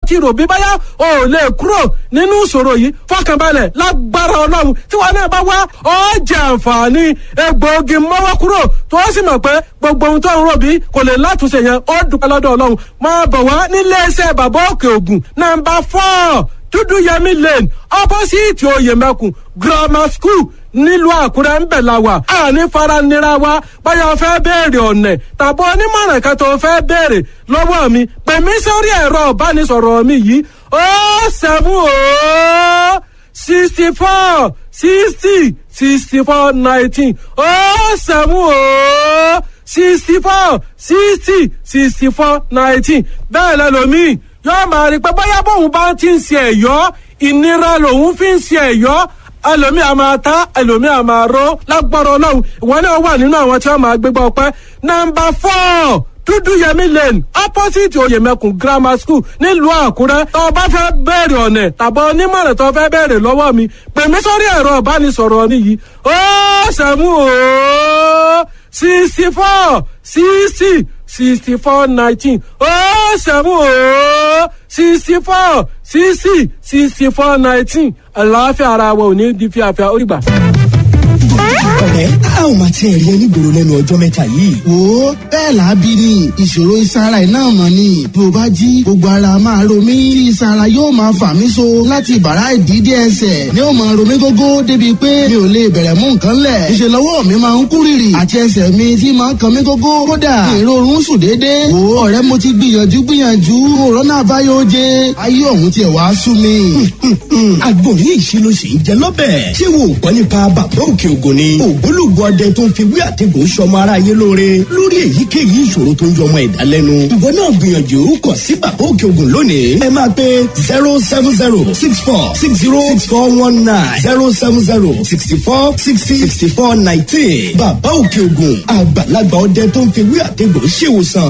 ti rò bí báyà ò lè kúrò nínú ìṣòro yìí, fọkànbalẹ̀, lágbára Ọlọ́run, tí wọn náà bá wá ó jẹ àǹfààní egbòogi mọ́wọ́ kúrò, tó sì mọ̀ pé gbogbo ohun tó ń rò bí kò lè látúnṣe yẹn, ó dúpẹ́ lọ́dọ̀ Ọlọ́run. Máa bọ̀ wá nílé iṣẹ́ Bàbá Òkè Ògùn, nọ́mbà 4 Dúdúyẹmí Lane, opposite Oyèmẹkùn Grammar School, nílùú Àkúrẹ́ ń bẹ̀ la wà. Àní faranira wa. Báyọ̀ fẹ́ béèrè ọ̀nà tàbí onímọ̀ràn kan tó fẹ́ béèrè lọ́wọ́ mi, pè mí sórí ẹ̀rọ ìbánisọ̀rọ̀ mi yìí: 070 64 60 64 19, 070 64 60 64 19. Bẹ́ẹ̀ lẹ́lòmíì yóò máa rí pé bóyá bóun bá ti ń ṣe ẹ̀yọ́, ìnira lòun fi ń ṣe ẹ̀yọ́. Ẹlòmíì a máa ta, ẹlòmíì a máa ró. Lágbára Ọlọ́run, ìwọ náà wà nínú àwọn tí wọ́n máa gbégbá ọpẹ́. Nọ́mbà 4 Dúdúyẹmí Lane, opposite Oyèmẹkùn Grammar School, nílùú Àkúrẹ́. Tó o bá fẹ́ bẹ̀rẹ̀ ọ̀nà tàbí onímọ̀ràn tó o fẹ́ bẹ̀rẹ̀ lọ́wọ́ mi, pè mí sórí ẹ̀rọ ìbánisọ̀rọ̀ mi yìí: 070 64 60 64 19, 070 64 60 64 19. Àlàáfíà ara wa ò ní di fíafíà. Ó dìgbà. Ọ̀rẹ́, a ò máa tiẹ̀ rí onígboro lẹ́nu ọjọ́ mẹ́ta yìí. Wo, bẹ́ẹ̀ là á bí ni. Ìṣòro ìsara iná mọ̀ ni. Bí o bá jí, gbogbo ara máa ro mí tí ìsara yóò máa fà mí so láti ìbàrá ìdídé ẹsẹ̀ ni ó máa ro mí gógó, débi pé mi ò lè bẹ̀rẹ̀ mú nǹkan lẹ̀. Ìṣe lọ́wọ́ mi máa ń kú rìrì àti ẹsẹ̀ mi tí máa ń kan mí gógó. Kódà èrò oorun sùn déédéé. Wo ọ̀rẹ́, mo ti gbìyànjú gbìyànjú, òrónà àbáyọ oje, ayé ọ̀hún tiẹ̀ wá sú mi. Àgbo yìí ṣe ló ṣe ń jẹ lọ́bẹ̀. Ṣé wo ò gbọ́ nípa Bàbá Òkè Ògùn ni? Ògbólógbò ọdẹ tó ń fi wí àtẹ̀gùn sọmọ aráyé lóore lórí èyíkéyìí ìṣòro tó ń yọmọ ẹ̀dá lẹ́nu. Ìwọ náà gbìyànjú kàn sí Bàbá Òkè Ògùn lónìí. Ẹ máa pe 07064606419, 07064606419. Bàbá Òkè Ògùn, àgbàlagbà ọdẹ tó ń fi wí àtẹ̀gùn ṣèwòsàn.